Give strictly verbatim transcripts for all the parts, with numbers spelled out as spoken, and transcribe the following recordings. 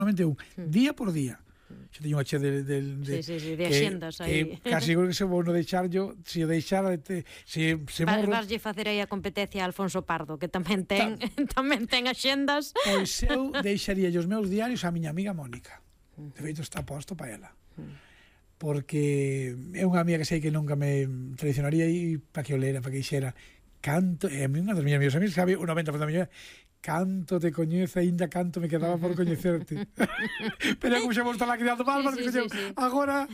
solamente un, día por día. Xa teño unha che de, de, de, sí, sí, sí, de axendas aí. Casi creo que se vou no deixar yo, se o deixara, te, se, se morro... Vaslle facer aí a competencia a Alfonso Pardo, que tamén ten Ta... tamén ten axendas. Pois eu deixaría os meus diarios a miña amiga Mónica. De feito está posto para ela. Porque é unha amiga que sei que nunca me traicionaría e para que o lera, para que xera canto, e a mí unha das miñas amigas, amigas sabe o noventa por cento da miña canto te coñece, ainda canto me quedaba por coñecerte. Pero como xa vou estar lá criando palmas, sí, sí, sí, sí. Agora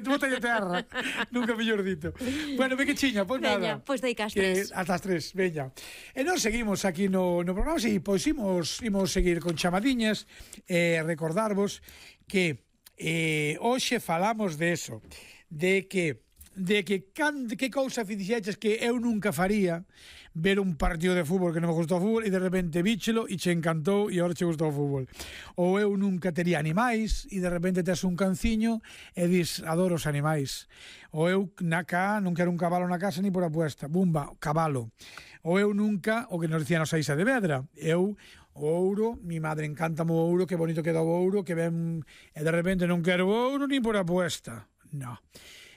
bótalle terra. Nunca mellor dito. Bueno, ve que chiña, pois nada. Veña, pois dei cas tres. Hasta as tres, veña. E nós seguimos aquí no, no programa, e pois imos, imos seguir con chamadiñas, e eh, recordarvos que eh, hoxe falamos de eso, de que de que can, de que cousa fixeches que eu nunca faría, ver un partido de fútbol que non me gustou o fútbol e de repente víchelo e che encantou e agora che gustou o fútbol. Ou eu nunca tería animais e de repente tes un canciño e dis, adoro os animais. Ou eu na cá non quero un cabalo na casa ni por apuesta, bumba, cabalo. Ou eu nunca, o que nos dicían os Aixa de Vedra, eu o ouro, mi madre encanta o ouro, que bonito queda o ouro, que ven, e de repente non quero o ouro ni por apuesta. No.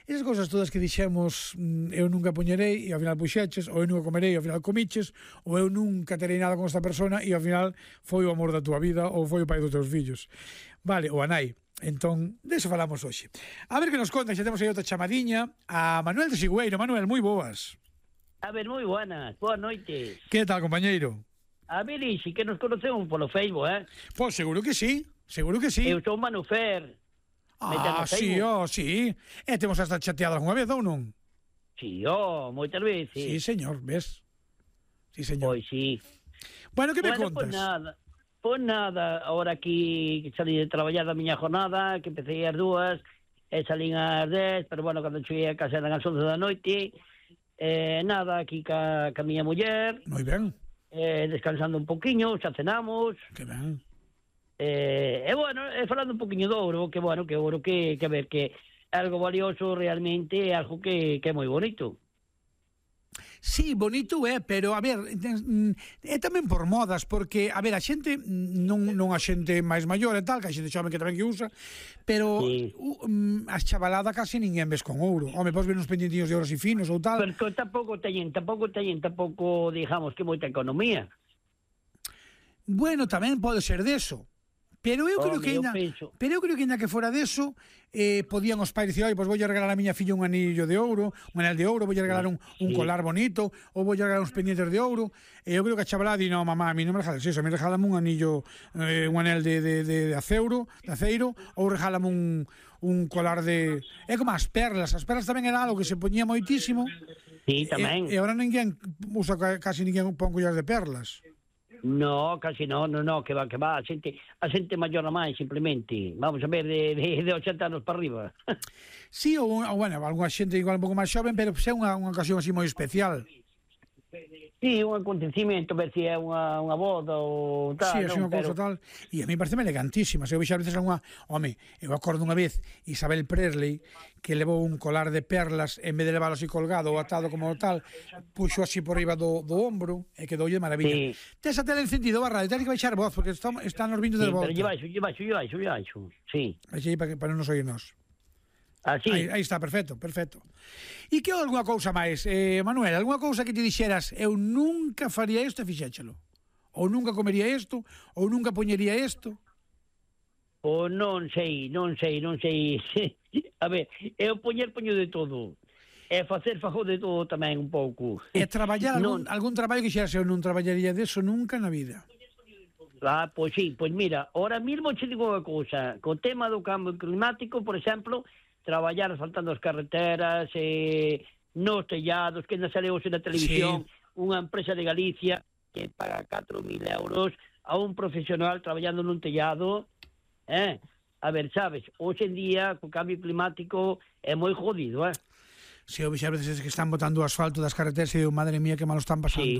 Esas cousas todas que dixemos, eu nunca poñerei e ao final puxeches, ou eu nunca comerei e ao final comiches, ou eu nunca terei nada con esta persona e ao final foi o amor da túa vida ou foi o pai dos teus fillos. Vale, o a nai. Entón, deso falamos hoxe. A ver que nos conta, xa temos aí outra chamadiña a Manuel de Sigüeiro. Manuel, moi boas. A ver, moi buenas, boas noites. Que tal, compañeiro? A ver, ixi, que nos conocemos polo Facebook, eh? Pois seguro que sí, seguro que sí. Eu sou Manu Fer. Ah, sí, oh, sí. E temos hasta chateado algunha vez, ou non? Sí, oh, moitas veces. Sí, señor, ves? Sí, señor. Pois sí. Bueno, que me bueno, contas? Pois nada, pois nada, ahora aquí salí de traballar da miña jornada, que empecé as dúas, e salín ás dez, pero bueno, cando cheguei a casa eran as once da noite, eh, nada, aquí ca, ca miña muller. Moi ben. Eh, descansando un poquinho, xa cenamos. Que ben. Eh, e bueno, e falando un poquinho do ouro, que bueno, que ouro que, que a ver, que algo valioso realmente é algo que, que é moi bonito. Sí, bonito é, pero a ver, é tamén por modas, porque, a ver, a xente, non, non a xente máis maior e tal, que a xente xome que tamén que usa, pero sí. uh, a chavalada casi ninguén ves con ouro. Home, podes ver uns pendientinhos de ouros e finos ou tal. Pero tampouco teñen, tampouco teñen, tampouco, digamos, que moita economía. Bueno, tamén pode ser deso. Pero eu creo Home, que ainda, eu pero eu creo que ainda que fora deso, eh, podían os pais dicir, oi, pois voulle regalar a miña filla un anillo de ouro, un anel de ouro, voulle regalar un, un sí. colar bonito, ou voulle regalar uns pendientes de ouro. E eu creo que a chavalada di, no, mamá, a mí non me regales eso, a mí regálame un anillo, eh, un anel de, de, de, de aceiro, de aceiro, ou regálame un, un colar de... É como as perlas, as perlas tamén era algo que se poñía moitísimo. Sí, tamén. E, e agora ninguén usa, casi ninguén pon collas de perlas. No, casi no, no, no, que va, que va, a xente, a xente maior a máis, simplemente, vamos a ver, de, de, de ochenta anos para arriba. Sí, ou, ou bueno, alguna xente igual un pouco máis xoven, pero é unha, unha ocasión así moi especial. Sí, un acontecimiento, ver se é unha, unha boda ou tal. Sí, é non, unha cousa pero... tal. E a mí parece elegantísima. Se eu vexo a veces unha... Home, eu acordo unha vez Isabel Presley que levou un colar de perlas en vez de leválo así colgado ou atado como tal, puxo así por riba do, do ombro e quedoulle de maravilla. Sí. Tes a tele encendido, barra, tens que baixar voz porque está, están os vindos sí, de volta. Pero lle baixo, lle baixo, lle baixo, lle baixo, sí. Baixei para, para non nos oírnos. Así. Aí, aí está, perfecto, perfecto. E que alguna cousa máis, eh, Manuel, alguna cousa que te dixeras, eu nunca faría isto e fixéchelo? Ou nunca comería isto? Ou nunca poñería isto? O non sei, non sei, non sei. A ver, eu poñer poño de todo. E facer fajo de todo tamén un pouco. E traballar algún, non... algún traballo que xeras, eu non traballaría deso nunca na vida. Ah, pois sí, pois mira, ahora mismo che digo unha cousa, co tema do cambio climático, por exemplo, traballar asfaltando as carreteras, eh, nos tellados, que na sale hoxe na televisión, sí. Unha empresa de Galicia que paga catro mil euros a un profesional traballando nun tellado, eh? A ver, sabes, hoxe en día, co cambio climático, é moi jodido, eh? Si, sí, eu vexe a veces que están botando o asfalto das carreteras e digo, madre mía, que mal están pasando. Sí.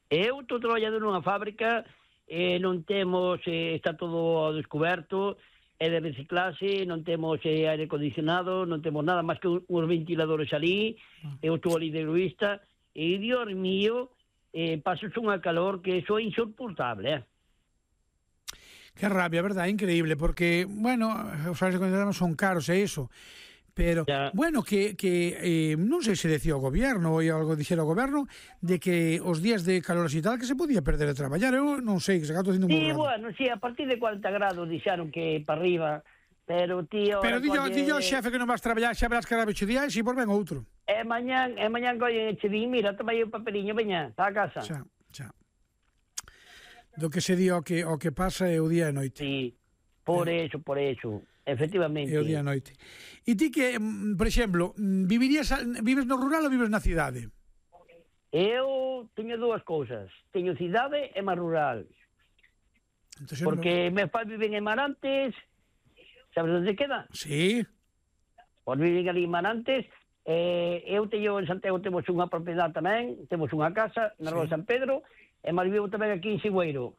Eu estou traballando nunha fábrica, eh, non temos, eh, está todo descoberto, é de reciclase, non temos eh, aire acondicionado, non temos nada máis que uns ventiladores ali, ah. eu estou ali de egoísta, e, Dios mío, eh, paso unha calor que iso é insoportable, eh? Que rabia, verdad, increíble, porque, bueno, os salários que consideramos son caros, é iso. Pero, ya. bueno, que, que eh, non sei se decía o goberno ou algo dixera o goberno de que os días de calor e tal que se podía perder de traballar. Eu non sei, que se gato haciendo un Sí, burrado. bueno, sí, a partir de cuarenta grados dixeron que para arriba, pero tío... Pero dillo, colle... dillo xefe que non vas traballar, xa verás que cada ocho días e por ben outro. E mañán, e mañán collen e che din, mira, toma aí o papeliño, veña, está a casa. Xa, xa. Do que se di o que, o que pasa é o día e noite. Sí, por eh. eso, por eso, efectivamente. É o día e noite. E ti que, por exemplo, vivirías, vives no rural ou vives na cidade? Eu teño dúas cousas, teño cidade e máis rural. Entonces, Porque no... meus pais viven en Marantes, sabes onde queda? Sí. Pois viven ali en Marantes, eh, eu teño en Santiago, temos unha propiedade tamén, temos unha casa na Rua Sí. San Pedro, e máis vivo tamén aquí en Sigüeiro.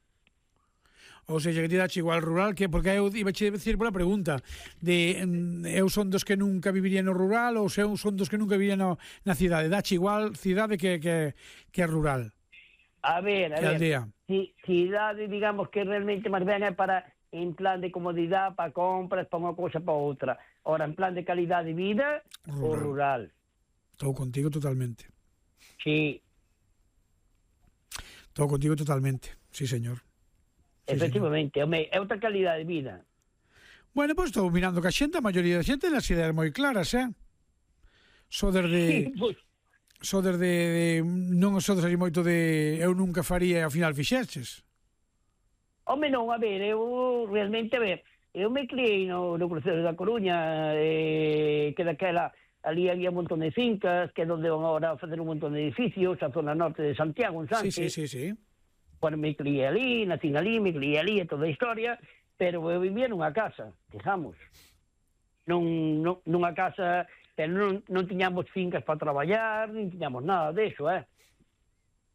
Ou seja, que ti dache igual rural, que porque eu iba che decir pola pregunta de mm, eu son dos que nunca viviría no rural ou se eu son dos que nunca viviría no, na cidade. Dache igual cidade que, que, que rural. A ver, a Que ver, aldea. ci- cidade, digamos que realmente máis ben é para en plan de comodidade, para compras, para unha cousa, para outra. Ora, en plan de calidade de vida, o Rural. rural. Estou contigo totalmente. Sí, Estou contigo totalmente. Sí, señor. Sí, efectivamente, home, é outra calidade de vida. Bueno, pois estou mirando que a xente, a maioría da xente, as ideas moi claras, eh? Soder de... Pois, soder de, de non sodes aí moito de eu nunca faría e ao final fixeches. home, non, a ver, eu realmente, a ver, eu me criei no, no crucero da Coruña, eh, que daquela, ali había un montón de fincas, que é onde van agora a fazer un montón de edificios, a zona norte de Santiago, en Sí, Sánchez. sí, sí, sí. Bueno, me criei ali, nacín ali, me criei ali, e toda a historia, pero eu vivía nunha casa, digamos. Non, non, nunha casa, pero non, non tiñamos fincas para traballar, nin tiñamos nada deso, eh?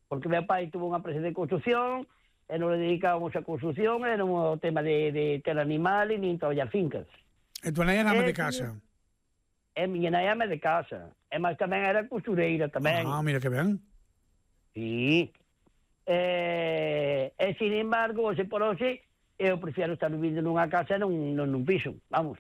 Porque meu pai tuvo unha empresa de construcción, e non le dedicábamos a construcción, era un tema de, de ter animales, nin traballar fincas. E tu nai era ama Eh, de casa. E miña nai ama de casa, e máis tamén era costureira tamén. Ah, mira que ben. Sí. Eh, e, sin embargo, hoxe por hoxe, eu prefiero estar vivindo nunha casa e non, non nun piso, vamos.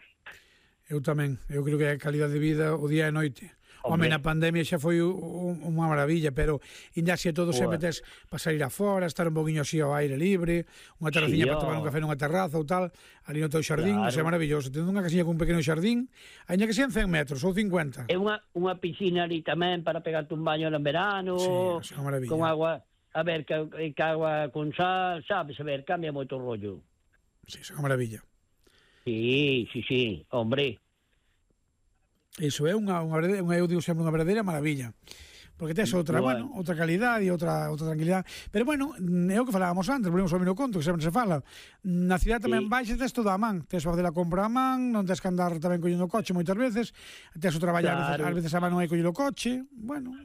Eu tamén. Eu creo que a calidade de vida o día e noite. Home, Hombre. na pandemia xa foi un, unha maravilla, pero ainda así todo sempre Boa. tes para sair afora, estar un poquinho así ao aire libre, unha terraciña Sí, para tomar un ó. café nunha terraza ou tal, ali no teu xardín, Claro. claro. É maravilloso. Tendo unha casiña con un pequeno xardín, aínda que sean cen metros ou cincuenta. E unha, unha piscina ali tamén para pegarte un baño en verano, Sí, é unha maravilla. con agua, a ver, que, que agua con sal, sabes, a ver, cambia moito o rollo. Sí, é unha maravilla. Sí, sí, sí, hombre. Iso é unha, unha, verdadeira, unha eu digo sempre unha verdadeira maravilla. Porque tes outra, bueno, Bueno. outra calidade e outra outra tranquilidade. Pero bueno, é o que falábamos antes, volvemos ao mino conto, que sempre se fala. Na cidade tamén Sí. vais e tes todo a man. Tes para fazer a compra a man, non tes que andar tamén collendo o coche moitas veces. Tes o traballar, Claro. ás veces a man non hai collendo o coche. Bueno,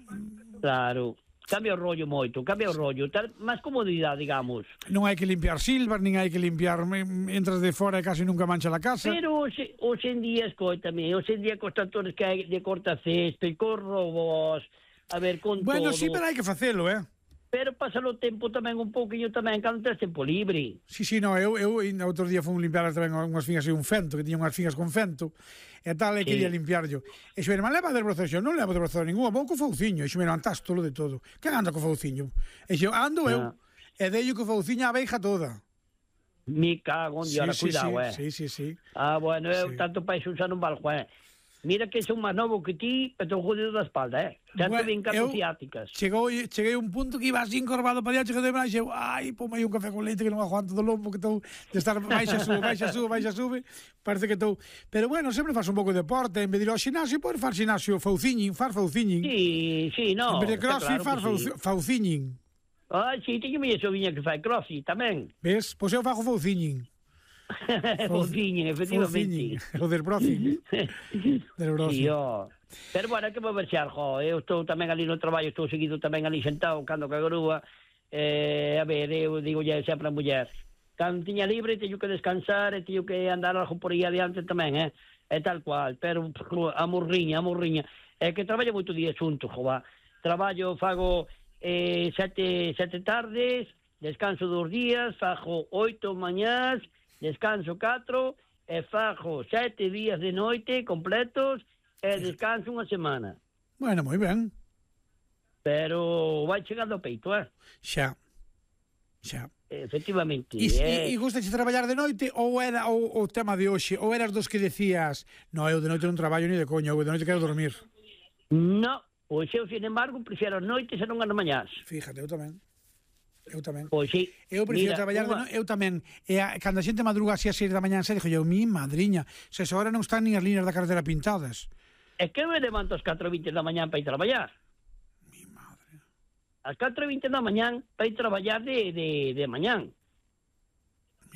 Claro. Cambia o rollo moito, cambia o rollo, tal, máis comodidade, digamos. non hai que limpiar silvas, nin hai que limpiar, mm, entras de fora e casi nunca mancha a casa. Pero hoxe, hoxe en día, escoitame, hoxe en día cos tractores que hai de corta césped, con robos, a ver, con Bueno, todo. sí, pero hai que facelo, eh? Pero pasa o tempo tamén un pouquiño tamén, cando tens tempo libre. Sí, sí, no, eu, eu ainda outro día fui limpiar tamén unhas figas e un fento, que tiña unhas figas con fento, e tal, e Sí. quería limpiar yo. E xo, irmán, leva del proceso, non levo del proceso ningún, vou co fauciño, e xo, mira, antás tolo de todo. Que anda co fauciño? E xo, ando eu, Ah. e deio co fauciño a abeixa toda. Me cago en Dios, ahora sí, cuidado, sí, eh. sí, sí, sí. Ah, bueno, eu Sí. tanto para iso xa non valgo, eh. Mira que son máis novo que ti, pero estou jodido da espalda, eh. Xa Bueno, te ven cato eu- ciáticas. Chegou, cheguei a un punto que iba así encorvado para allá, chegou de braxe, eu, ai, pome aí un café con leite que non aguanto do lombo, que estou de estar baixa, sube, baixa, sube, baixa, sube, parece que estou... Pero bueno, sempre faz un pouco de deporte, en vez de ir ao xinasio, podes far xinasio fauciñin, far fauciñin. Sí, sí, no. en vez de está crossfit, claro far que sí. fauci- fauciñin. Ah, sí, teño miña soviña que fai crossfit tamén. Ves? Pois eu fago fauciñin. Fociña, efectivamente. Fauciñin. O del brocing. Del brocing. Sí, oh. Pero bueno, que vou verxar, jo, eu estou tamén ali no traballo, estou seguido tamén ali sentado, cando que a grúa, eh, a ver, eu digo ya sempre a muller, cando tiña libre teño que descansar e teño que andar algo por aí adiante tamén, eh, é tal cual, pero a morriña, a morriña, é que traballo moito día xunto, jova, traballo, fago eh, sete, sete tardes, descanso dos días, fago oito mañás, descanso catro, e fago sete días de noite completos, e descanso unha semana. Bueno, moi ben. Pero vai chegando ao peito, eh? Xa. Xa. Efectivamente. E, eh... e, e gustache traballar de noite ou era o, o tema de hoxe? Ou eras dos que decías no, eu de noite non traballo ni de coña, eu de noite quero dormir? No, pois eu, sin embargo, prefiero as noites e non as mañás. Fíjate, eu tamén. Eu tamén. Pois sí. Eu prefiro Mira, traballar unha... de noite, eu tamén. E a, cando a xente madruga así a seis da mañá, dixo eu, mi madriña, se agora non están nin as líneas da carretera pintadas. É que eu me levanto ás catro e vinte da mañá para ir traballar. Mi madre. Ás catro e vinte da mañán para ir traballar de, de, de mañán.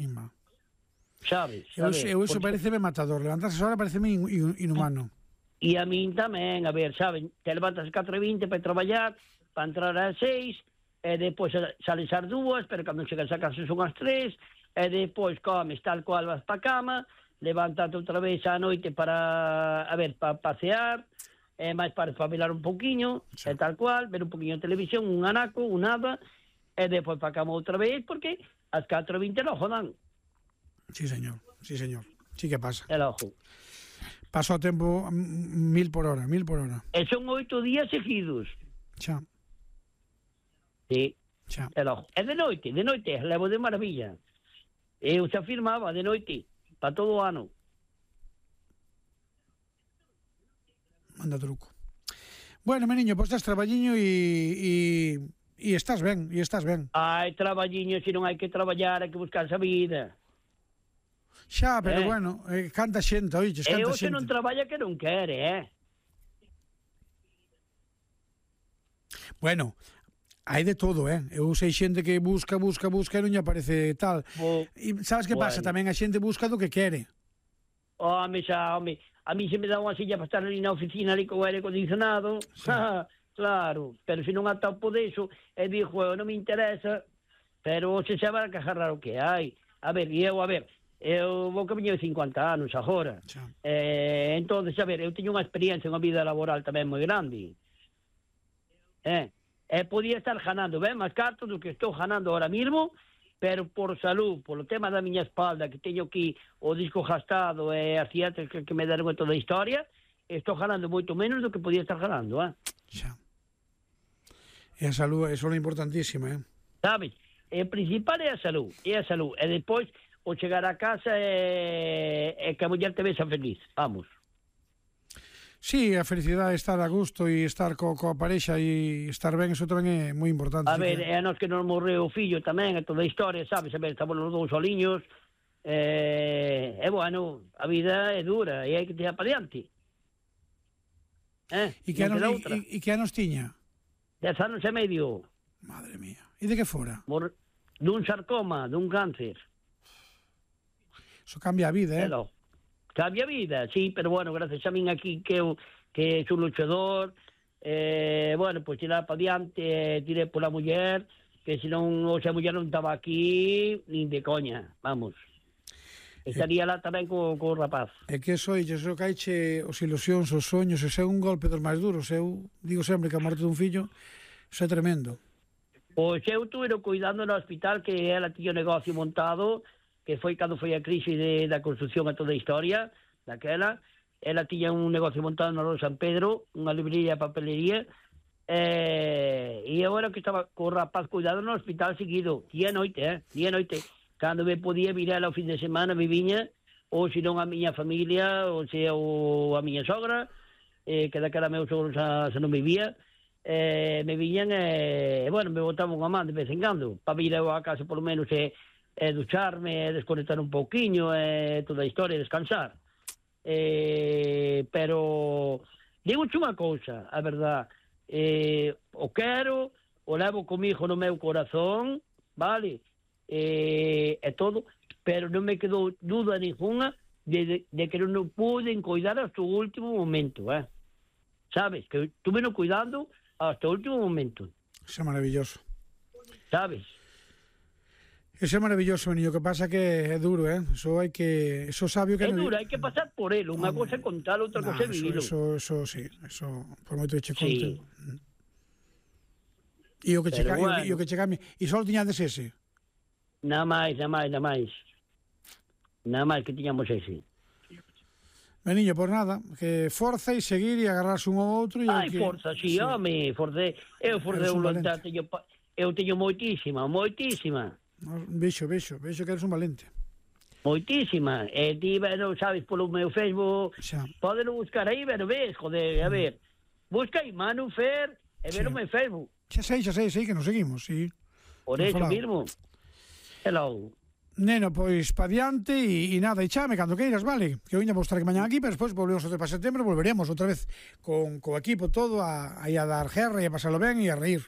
Mima. Sabes? Eu, sabes? eu iso Porque... pareceme matador. Levantarse esa hora pareceme in, in, inhumano. E a min tamén, a ver, saben, te levantas ás catro e vinte para ir traballar, para entrar ás seis, e depois sales ás dúas, pero cando chegas a casa son ás tres, e depois comes tal cual vas para a cama, levántate outra vez á noite para, a ver, para pasear, e máis para espabilar un poquinho, sí. E tal cual, ver un poquinho de televisión, un anaco, un nada, e depois para a cama outra vez, porque ás catro e vinte logo dan. Sí, señor, sí, señor. Sí que pasa. El ojo. Paso o tempo mil por hora, mil por hora. E son oito días seguidos. Xa. Sí. Xa. El ojo. E de noite, de noite, levo de maravilla. Eu se afirmaba de noite, para todo o ano. Manda truco. Bueno, meniño, pois estás traballiño e, e, e estás ben, e estás ben. Hai traballiño, se non hai que traballar, hai que buscarse a vida. Xa, pero eh. bueno, eh, canta xente, oiches, canta e o xente. se non traballa que non quere, eh? Bueno, hai de todo, eh? Eu sei xente que busca, busca, busca e non lle aparece tal. Bo, E sabes que bueno. pasa? Tamén a xente busca do que quere. Home, xa, home, a mí se me dá unha silla para estar ali na oficina ali con o aire acondicionado, sí. Claro, pero se non atopo deso, e dixo, eu non me interesa, pero se sabe que agarrar o que hai. A ver, e eu, a ver, eu vou que viño de cincuenta anos agora. Eh, entón, a ver, eu teño unha experiencia, unha vida laboral tamén moi grande. Eh, e podía estar ganando ben máis cartos do que estou ganando ahora mismo, pero por salud, polo tema da miña espalda, que teño aquí o disco gastado e as ciatas que, que me deron toda a historia, estou ganando moito menos do que podía estar ganando, eh? Xa. E a salud, eso é importantísima, eh? Sabes? E o principal é a salud, é a salud. E depois, o chegar a casa e, e que a muller te vexa feliz. Vamos. Sí, a felicidade é estar a gusto e estar co, coa parexa e estar ben, eso tamén é moi importante. A ver, que... é a nos que nos morreu o fillo tamén, e toda a historia, sabes? A ver, estamos os dous soliños, e, e bueno, a vida é dura e hai que tirar para diante. Eh? E que, anos, e, e que anos tiña? Dez anos e medio. Madre mía. E de que fora? Mor... Dun sarcoma, dun cáncer. Eso cambia a vida, eh? Hello. Cambia a vida, sí, pero bueno, gracias a min aquí que eu que sou luchador, eh, bueno, pois pues, tirar para diante, eh, tirei pola muller, que senón, o sea, a muller non estaba aquí, nin de coña, vamos. Estaría lá tamén co, co rapaz. É que eso, eso caiche os ilusións, os soños, ese é un golpe dos máis duros. Eu digo sempre que a morte dun fillo, eso é tremendo. Pois eu tuve cuidando no hospital, que ela tiña o negocio montado, que foi cando foi a crise de, da construcción a toda a historia, daquela. Ela tiña un negocio montado no San Pedro, unha librería de papelería, eh, e agora que estaba co rapaz cuidado no hospital seguido, día e noite, eh, día e noite. Cando me podía virar ao fin de semana, me viña, ou senón a miña familia, ou sea, ou a miña sogra, eh, que daquela meu sogro xa, xa non vivía, eh, me viñan e, eh, bueno, me botaban unha man de vez en cando, para vir eu a casa polo menos e, e ducharme, e desconectar un pouquiño, e toda a historia, descansar. Eh, pero, digo unha cousa, a verdad, eh, o quero, o levo comigo no meu corazón, vale, eh, e todo, pero non me quedou duda ninguna de, de, de que non puden cuidar hasta o último momento, eh? Sabes, que estuve no cuidando hasta o último momento. Eso é maravilloso. Sabes? Eso é maravilloso, niño, que pasa que é duro, eh? Eso hai que... Eso sabio que... É no... duro, hai que pasar por él. Unha cosa é contar, outra no, cosa é eso, vivilo. eso, eso, sí. Eso, por moito que che conte. Sí. E o que che, Pero bueno. bueno. e o que che cambia... E só tiñades ese? Nada máis, nada máis, nada máis. Nada máis que tiñamos ese. Meniño, por nada, que forza e seguir e agarrarse un ao outro. E Ai, que... forza, si, sí, home, forza. Eu forza Eres un voluntad, teño, eu teño moitísima, moitísima. Vexo, vexo, vexo que eres un valente. Moitísima. E ti, bueno, sabes, polo meu Facebook, Xa. podelo buscar aí, pero ves, joder, a ver. Busca aí Manu Fer e Sí. verome en Facebook. Xa sei, xa sei, sei que nos seguimos, sí. Por Nos eso falamos. mismo. Hello. Neno, pois pa diante e, e nada, e chame cando queiras, vale? Que eu iña vou estar aquí mañán aquí, pero despois volvemos outra vez para setembro, volveremos outra vez con co equipo todo a, a, a dar guerra e a pasalo ben e a reír.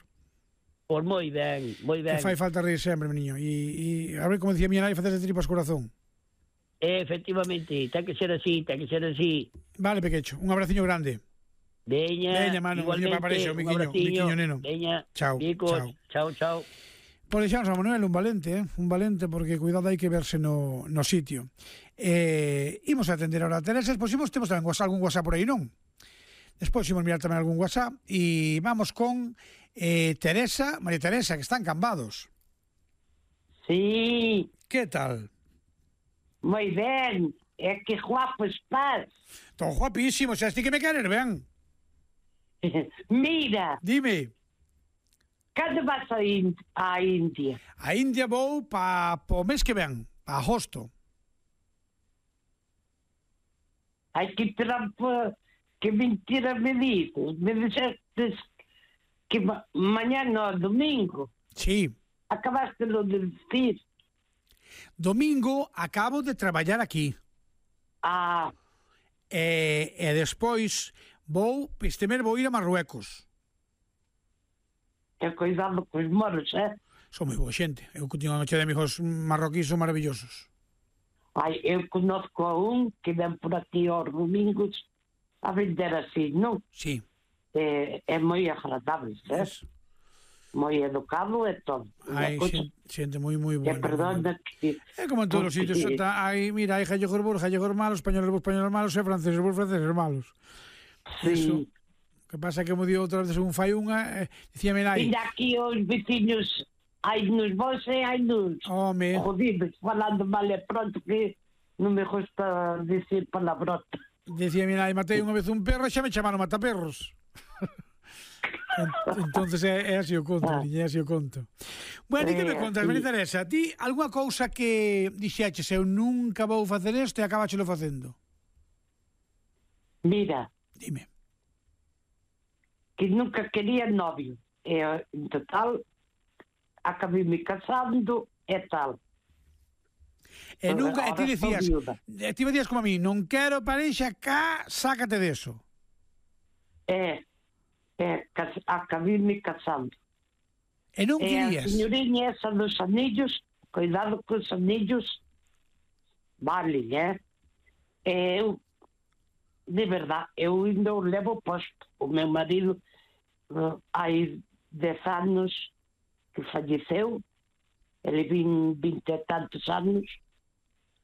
Pois moi ben, moi ben. Que fai falta reír sempre, meniño. E, e a ver, como dicía miña nai, facerse tripas corazón. Efectivamente, ten que ser así, ten que ser así. Vale, pequecho, un abraciño grande. Veña, Veña, mano, igualmente, veña, paparexo, un miquiño, abraciño. miquiño, neno. Veña, Chao, bicos, chao. chao, chao. Pois deixamos a Manuel un valente, eh? un valente, porque cuidado hai que verse no, no sitio. Eh, imos a atender ahora a Teresa, despois imos, temos tamén WhatsApp, algún WhatsApp por aí, non? Despois imos mirar tamén algún WhatsApp e vamos con eh, Teresa, María Teresa, que están Cambados. Sí, Que tal? moi ben. É que guapo estás. Estou guapísimo, xa esti que me querer, ben? Mira, Dime, cando vas a, Ind a India? a India vou pa, po mes que ven, pa agosto. Hai que trampa. Que mentira me dices. Me dixestes que ma mañá no, domingo. Sí, Acabaste lo de decir. domingo acabo de traballar aquí. Ah, E, e despois vou, este mes vou ir a Marruecos. que cuidado cos moros, eh? Son moi boa xente. Eu que teño unha noche de amigos marroquíes son maravillosos. Ai, eu conozco a un que ven por aquí aos domingos a vender así, non? Sí. É, é moi agradable, eh? Es, Moi educado e todo. hai Unha cousa- xente, xente moi moi E buena. perdona que... É como en todos os sitios, porque- está, hai, mira, hai gallegos bons, gallegos malos, españoles bons, españoles malos, e franceses bons, franceses malos. Eso. Sí. Que pasa que, como digo outra vez, un fai unha, eh, dicíame nai, Mira aquí os veciños, hai nos vos e hai nos home, jodidos, falando mal e pronto que non me gusta decir palabrota. dicíame nai, matei unha vez un perro e xa me chamaron mataperros. Entonces é, é así o conto, Ah. niña, é así o conto. Bueno, e que me É, contas, sí. María Teresa? Ti, algunha cousa que dixeches, eu nunca vou facer isto e acabáchelo facendo? Mira, Dime. que nunca quería novio. E, en total, acabei me casando e tal. E nunca, e ti Ahora estou dicías, viuda. e ti me dicías como a mí, non quero parexa cá, sácate deso. E, e cas- acabei me casando. E non E a querías. señoriña esa dos anillos, cuidado con os anillos, vale, eh? E eu, de verdad, eu ainda o levo posto. O meu marido, uh, hai dez anos que falleceu, ele vin vinte e tantos anos,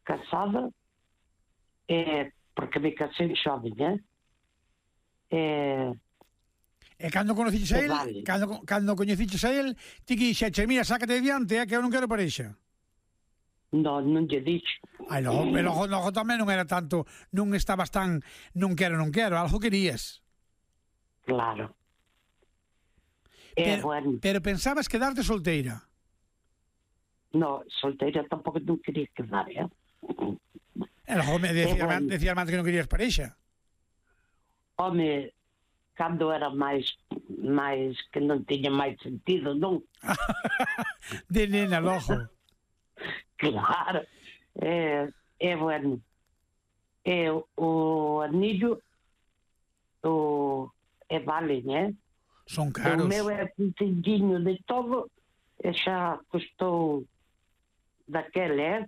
casada, e, porque me casei xoven, eh? E, E cando conociches a Que él, vale. cando, cando coñeciches a él, ti que dixeches, mira, sácate diante, eh, que eu non quero parexa. non, non lle dixo. Ai, logo, pero logo, logo tamén non era tanto, non estabas tan, non quero, non quero, algo querías. Claro. E, Pero, bueno, pero pensabas quedarte solteira. no, solteira tampouco non quería quedar, eh? E logo me decías, bueno. decías antes que non querías parexa. Home, cando era máis máis que non tiña máis sentido, non? De nena, logo. Claro. É, é bueno. É o anillo o é vale, né? Son O caros. meu é pintinho de todo e xa custou daquele, eh?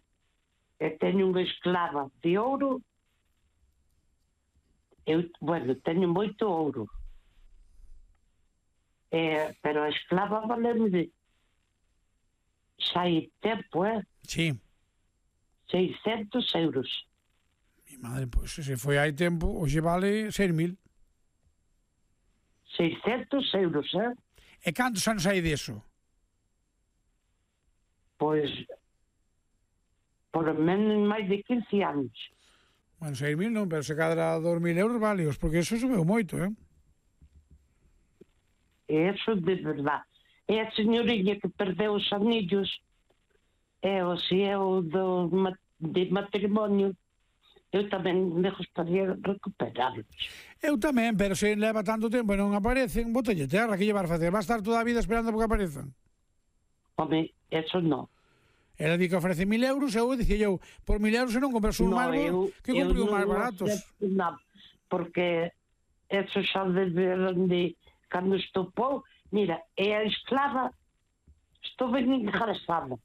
E teño unha esclava de ouro. Eu, bueno, teño moito ouro. Eh, pero a esclava valeu de xa hai tempo, eh? Sí. seiscentos euros. Mi madre, pois, pues, se foi hai tempo, hoxe vale seis mil. seiscentos euros, eh? E cantos anos hai deso? Pois por menos máis de quince anos. Bueno, seis mil non, pero se cadra dos mil euros válios, porque eso subeu moito, eh? E eso de verdade. E a señoriña que perdeu os anillos, e o se é o do, de matrimonio, eu tamén me gustaría recuperarlos. Eu tamén, pero se leva tanto tempo e non aparecen, botelle terra, que llevar a facer? Va a estar toda a vida esperando porque aparezan? Home, eso non. Ela di que ofrece mil euros, eu dicía eu, por mil euros se non compras un No, máis eu- que eu compre un non máis baratos. acepto nada, porque eso xa deberon de cando estopou, mira, é a esclava, estou ben engraçada.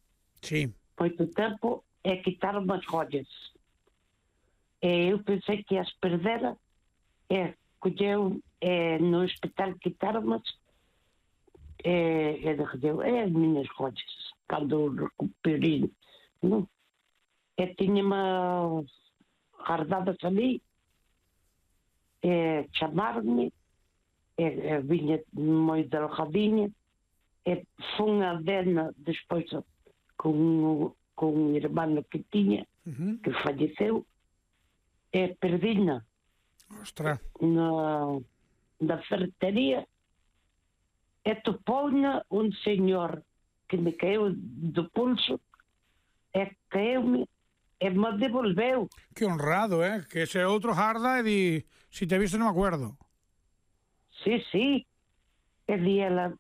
Sí. Moito tempo é quitar as joias. E eu pensei que as perdera, e colleu e no hospital quitaromas, e, e dixeu, é as minhas joias, cando recuperei, non? E tiña-me guardadas ali, e chamaron-me, e, e viña moi delgadinha, e fun a Dena despois con, con un irmão que tiña, Uh-huh. que falleceu, e perdina Ostras. na, na ferretería, e topou-na un señor que me caiu do pulso, e caeu-me, e me devolveu. Que honrado, eh? Que ese outro jarda e di, si te he visto non me acuerdo. Sí, sí. E di ela,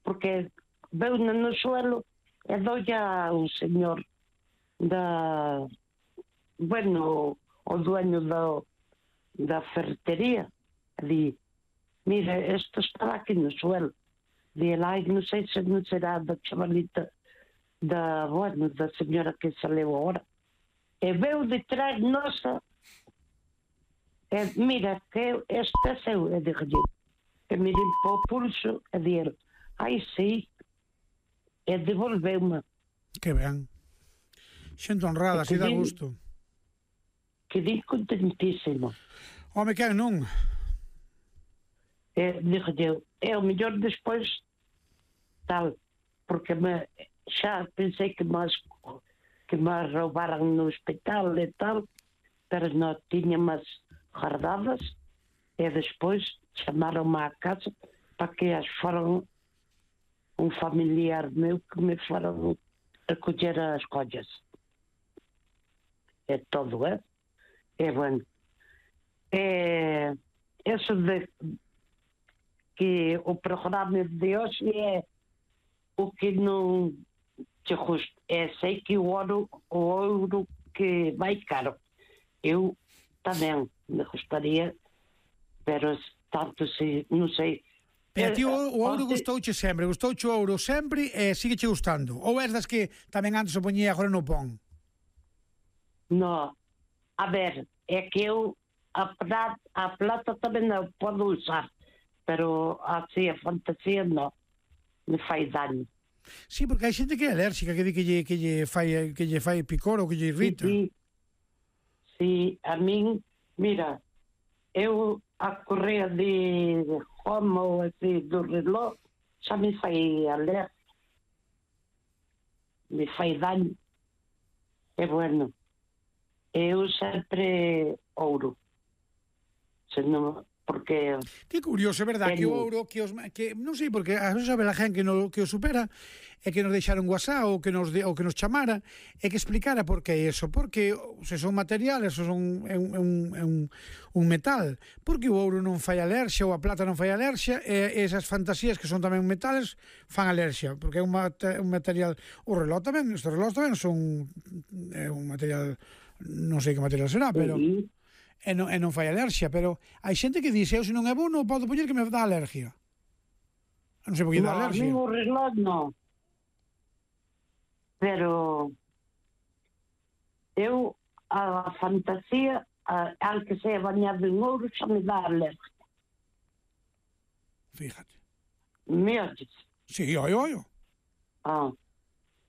porque veu no suelo, e doia un señor da, bueno, o dueño da, da ferretería, di, mira, isto estaba aquí no suelo. Di ela, ai, non sei se non será da chavalita da, bueno, da señora que saleu agora. E veu detrás nosa, e mira, que este é seu, e dixo, e me limpou o pulso, e dixo, ai, sí, e devolveu-me. Que ben. Xente honrada, así dá gusto. Quedei contentísimo. Home, que non? E dixo, é o mellor despois tal, porque me, xa pensei que me, que me roubaran no hospital e tal, pero non tiña máis guardadas, e despois chamaron-me á casa para que as foran un familiar meu que me foran recoller as collas. É todo, é? É bueno. É, eso de que o programa de hoxe é o que non te gusta. É, sei que o ouro, o ouro que vai caro. Eu tamén me gustaría, pero tanto se, non sei. E a ti o, o ouro Onte- gustouche sempre, gustouche o ouro sempre e sigue che gustando? Ou és das que tamén antes o poñía agora no pon? No, a ver, é que eu a plata, a plata tamén a podo usar, pero así a fantasía non, me fai daño. Sí, porque hai xente que é alérxica, que di que lle, que lle, fai, que lle fai picor ou que lle irrita. Sí, sí, a min, mira, eu a correa de Roma ou así do reloj xa me fai alerta, me fai daño. E bueno, eu sempre ouro, senón, porque Que curioso, é verdad, que o ouro, que os, que non sei porque a veces sabe a gente que, no, que o supera é que nos deixara un WhatsApp ou que nos, de, ou que nos chamara e que explicara por que é eso, porque se son materiales, se son é un, é un, é un, un metal, porque o ouro non fai alerxia ou a plata non fai alerxia e esas fantasías que son tamén metales fan alerxia, porque é un, mate, un material, o reloj tamén, estes reloj tamén son é un material, non sei que material será, pero sí, e non, e non fai alerxia, pero hai xente que dice, eu se non é bo non podo poñer que me dá alergia. Non sei por que dá no, a alerxia. mí o reloj non. Pero eu a fantasía, a, al que sea bañado en ouro, xa me dá alergia. Fíjate. Me oyes? Sí, oi, oi. Ah,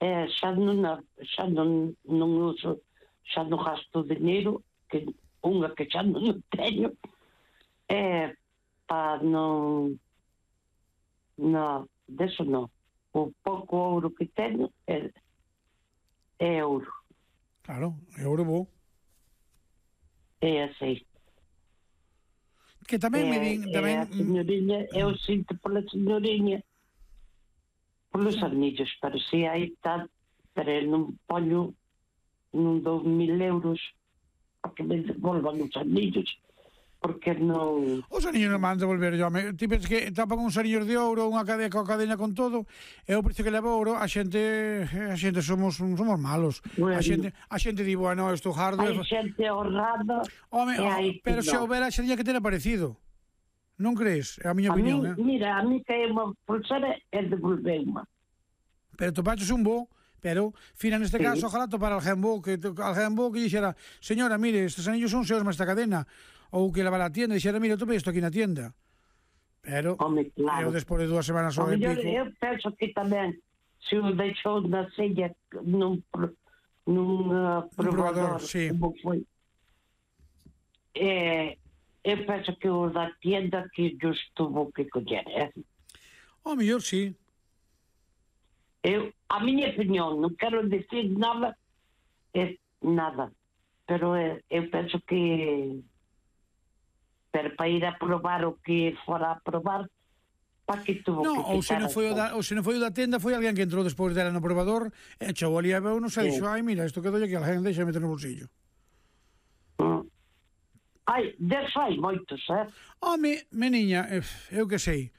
é, xa non, xa non, non uso, xa non gasto dinheiro, que unha que xa non teño, é para non, non, deso non. O pouco ouro que teño é, é ouro. Claro, euro bo. É así. Que tamén me din... É, Tamén, é a señoriña, eu sinto pola señoriña, polos anillos, pero si aí está, pero eu non poño, non dou mil euros porque me devolvan os anillos, porque non... Os anillos non van devolver, yo. Me, ti pensas que tapan uns anillos de ouro, unha cadena, coa cadena con todo, e o precio que leva ouro, a xente, a xente somos somos malos. Bueno. A xente, a xente di, bueno, isto hardo... Hai xente honrada, Home, e hai pero que se non. houbera xería que ter aparecido. Non crees? É a miña A mí, opinión, eh? mira, a mí cae unha pulsera e devolveu-ma. Pero topaches un bo, pero, fina neste Sí. caso, ojalá topar alguén bo, que, alguén bo que dixera, señora, mire, estes anillos son seus máis esta cadena, ou que leva a tienda, e dixera, mire, tope isto aquí na tienda. Pero, Home, eu claro. despois de dúas semanas O ou e mellor, pico... eu penso que tamén, se o deixou na sella nun, pro- nun uh, probador, probador, sí. como foi, eh, eu penso que o da tienda que nos tuvo que coller, eh? O mellor, sí. Eu, a miña opinión, non quero decir nada, é nada, pero eh, eu penso que pero para ir a probar o que fora a probar, para que tuvo No, que ou se non foi o da, ou se non foi o da tenda, foi alguén que entrou despois dela no probador, e chegou ali a ver, non sei, Sí. dixo, ai, mira, isto quedou aquí, alguén deixa meter no bolsillo. Mm. Ai, deso hai moitos, eh? Home, meniña, eh, eu que sei.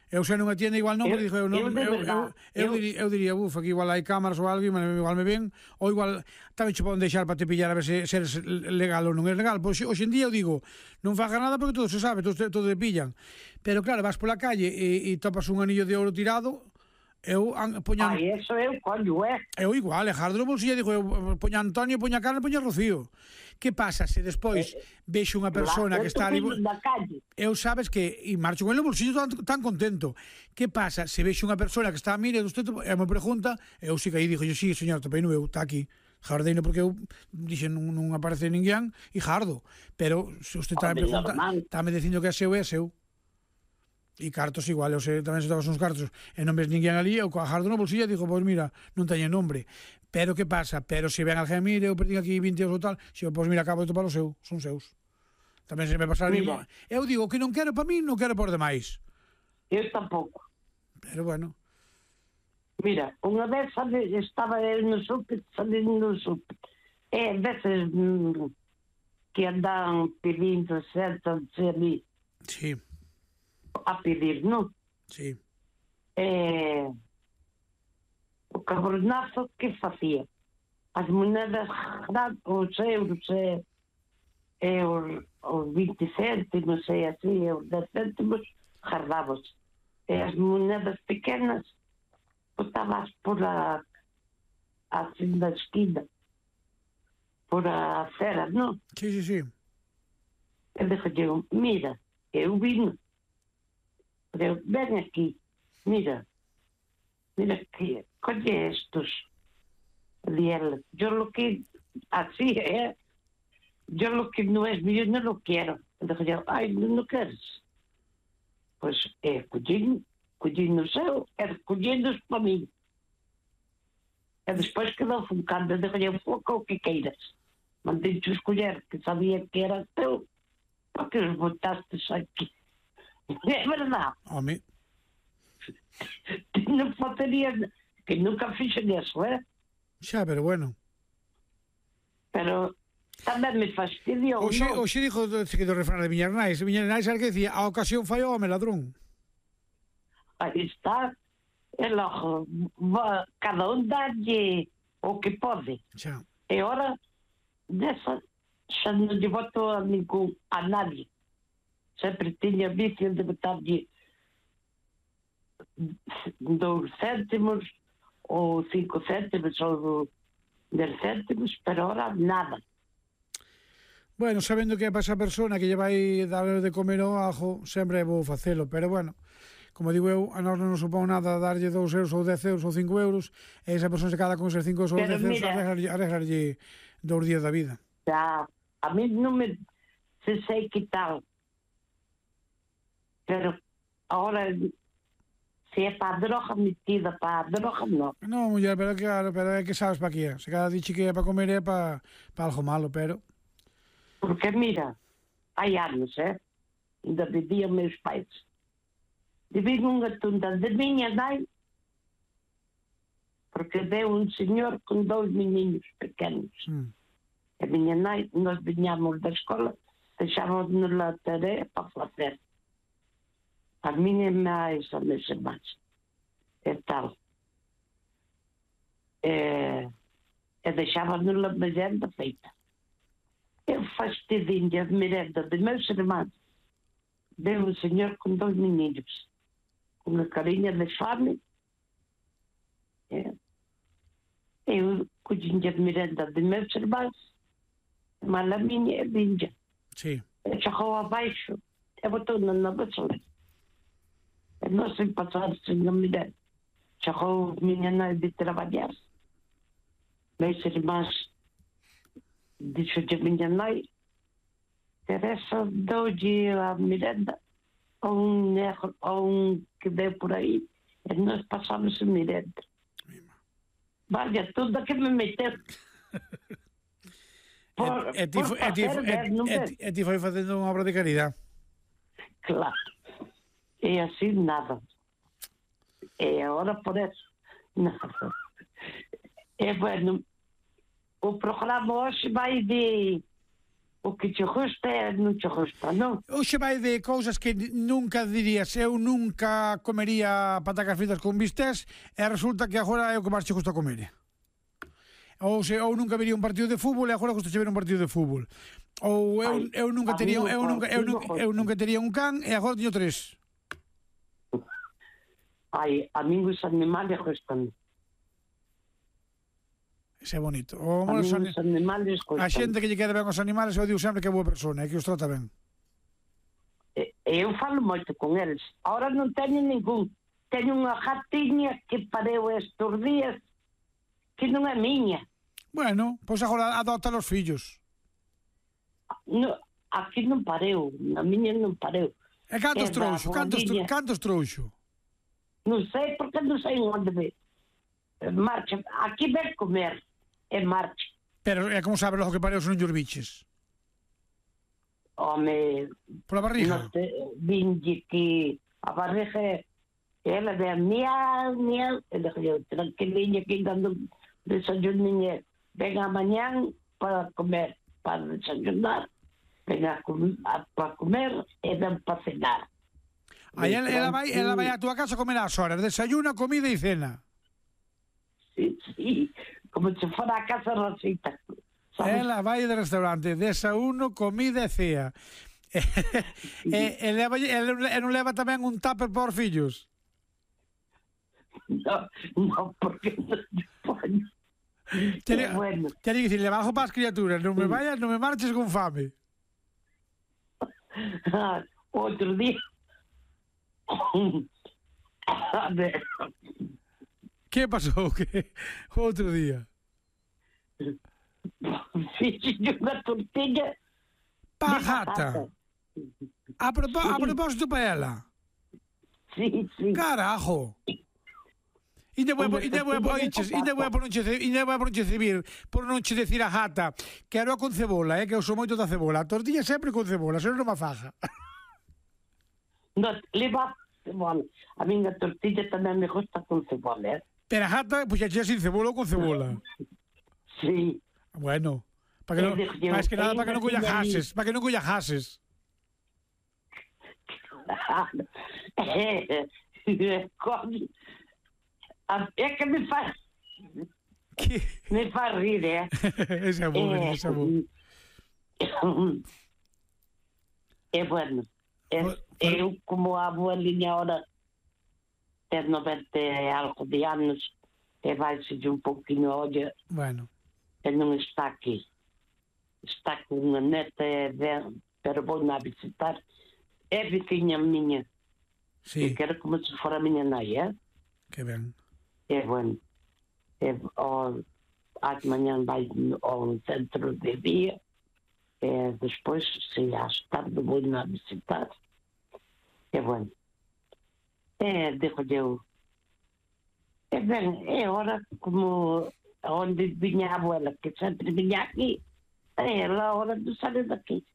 Eu sei nunha tienda igual non, Eu- porque dixo, eu, non, eu de eu, eu, verdad, eu, eu- diría, eu diría, buf, aquí igual hai cámaras ou algo, e igual me ven, ou igual tamén che poden deixar para te pillar a ver se, se eres legal ou non é legal. Pois hoxe en día eu digo, non fagas nada porque todo se sabe, todo, todo te pillan. Pero claro, vas pola calle e, e topas un anillo de ouro tirado, eu an, poñan... Ai, eso eu collo, eh? Eu igual, e jardo no bolsillo, digo, eu poña Antonio, poña Carmen, poña Rocío. Que pasa se despois vexo unha persona Claro, que está ali... eu na calle. Eu sabes que, e marcho con el no bolsillo tan, tan contento. Que pasa se vexo unha persona que está a mire, usted, e me pregunta, eu si que aí dixo, yo, sí, señor, topei no eu, está aquí. Jardeino porque eu dixen non, non aparece ninguén e jardo. Pero se usted está me Home, pregunta, normal. está me dicindo que é seu, é seu. E cartos igual, eu sei, tamén se tabas uns cartos e non ves ninguén ali, eu coa jardo no bolsillo e digo, pois mira, non teño nombre. Pero que pasa? Pero se ven alguén, mire, eu perdín aquí vinte euros ou tal, se pois mira, acabo de topar o seu, son seus. Tamén se me pasa ali. Mira. Eu digo que non quero para mí, non quero por demais. Eu tampouco. Pero bueno, Mira, unha vez sabe, estaba eu no súper, salindo no súper. É, veces mm, que andan pedindo, sentan-se ali sí, a pedir, non? sí. Eh, o cabronazo que facía? As moedas grandes, os euros, e, e os, os vinte céntimos, e así, e os dez céntimos, guardavas. E as moedas pequenas, botabas por a, assim na esquina, por a acera, non? Sí, sí, sí. E dixo, mira, eu vino. Pero ven aquí, mira, mira que, colle estos. Y él, yo lo que, así, ¿eh? Yo lo que no es mío no lo quiero. Dijo yo, ay, no lo quieres. Pues, eh, collín, collín no seu, e collín-nos para mí. E despois quedou funcando, dijo yo, foca o que queiras. Mandei-te escolher, que sabía que era teu, para que os botastes aquí. É verdade. Home, Non faltaría, que nunca fixen eso, eh? xa, pero bueno. Pero tamén me fastidiou, Oxe, non? oxe dixo que do refrán de Miñas Nais, Miñas Nais era que decía, a ocasión fai o home ladrón. Aí está. E logo, va, cada un dalle o que pode. Xa. E ora, desa, xa non lle voto a ningún, a nadie. Sempre tiña vicio de botarlle dous céntimos ou cinco céntimos ou dez céntimos, pero ora nada. Bueno, sabendo que é para esa persona que lle vai dar de comer o ajo, sempre vou facelo, pero bueno, como digo eu, a nós non nos supón nada darlle dous euros ou dez euros ou cinco euros, e esa persona se cada con esos cinco euros ou Pero dez euros mira- arreglarlle, arreglarlle dous días da vida. Ya, a mí non me se sei que tal. Pero ahora, Se é para a droga, metida para a droga, non. No, muller, pero claro, pero é que sabes para que é. Se cada dixe que é para comer é para pa algo malo, pero... Porque, mira, hai anos, eh? Ainda vivían meus pais. Vivín unha tunda de miña nai, porque deu un señor con dous meninos pequenos. Mm. A miña nai, nós viñamos da escola, deixábamos na tarea para facer. A miña máis, a meus irmáns. E tal. E, e deixábamos na merenda feita. Eu fastidinha de merenda de meus irmãos. Deu um senhor com dois meninos. Com uma carinha de fome. É. Eu cozinha de merenda de meus irmãos. Mas a minha é vinha. Sí. Eu chegou abaixo. Eu botou na nova sala. Eu não sei passar sem a merenda. Chegou a minha mãe de trabalhar. Meus irmãos disse a minha mãe, Teresa, dou-lhe a merenda a um negro, a um que deu por aí, e nós passamos a merenda. Vale, tudo que me meteu. Por, E ti foi- e ti foi- e- e ti- e ti foi facendo unha obra de caridade. Claro. E assim nada. E agora por eso, nada. É bueno, o programa hoxe vai de o que te gusta e non te gusta, non? Hoxe vai de cousas que nunca dirías, eu nunca comería patacas fritas con bistés e resulta que agora é o que máis che gusta comer. Ou se ou nunca vería un partido de fútbol e agora gusta ver un partido de fútbol. Ou eu, Ai, eu nunca a tería mí o eu nunca eu, partido nunca, eu nunca tería un can e agora teño tres. Ai, a mí os animales gustan. Ese é bonito. O, A mí os, os animales gustan. a xente que lle queda ben os animales, eu digo sempre que é boa persona e que os trata ben. E- Eu falo moito con eles. Ahora non teño ningún. Teño unha gatiña que pareu estes días que non é miña. Bueno, pois agora adopta os fillos. No, aquí non pareu. Na miña non pareu. E cantos É da trouxo? Cantos, tro- Rodiña. cantos trouxo? Non sei porque non sei onde ve. Marcha. Aquí ven comer. E marcha. Pero é como sabes logo que pareu se non llos biches. Home, Pola barriga? non te, vinlle que a barriga ela ve miau, miau, e le digo, tranquiliña que dando desayuninha, ven amanhã para comer, para desayunar, ven a, com, a, para comer e ven para cenar. Aí ela, ela, vai, ela vai á túa casa a comer ás horas, desayuna, comida e cena. Sí, sí, como se fora a casa Rosita. sabes? Ela vai de restaurante, desayuno, comida e cea. E, e, e, leva, e, e non leva tamén un tupper por fillos? No, no, porque non lle poño. Tiene, É bueno. tiene que dicir, leva algo para as criaturas, non me vayas, non me marches con fame. Ah, outro día. A ver, Que pasou? Que outro día? fixe unha tortilla Pa de gata. batata. A, propó, a propósito para ela. Sí, sí. Carajo. Ainda vou, Hombre, ainda vou, tortilla de oiches, ainda vou por non che, ainda vou por non che civir, por non che decir a gata, quero con cebola, eh, que eu sou moito da cebola. A tortilla sempre con cebola, senón non me faja. No, leva cebola. A minha tortilla tamén me gusta con cebola, eh? Pero a gata, pois pues, xa sin cebola ou con cebola. Sí. Bueno, para que non, Eu digo, máis que nada para que non colla eu jases, para que non colla jases. É que me faz Que... me faz rir, é? ese é bom, É, ese é bom. é bueno. É, Por- por- eu, como a abuelinha ahora tem noventa e algo de anos, e vai-se de um pouquinho, olha, Bueno, e não está aqui. Está com uma neta, é, bem, pero vou-na visitar. É vizinha minha. sí, E quero como se for a minha nai, é? que ben. É bueno. É, ó, às manhã vai ao centro de dia, e depois, se às tarde, vou-na visitar. É bueno. É, digo eu, E ben, é hora, como onde vinha a abuela, que sempre vinha aqui, é a hora de sair daqui.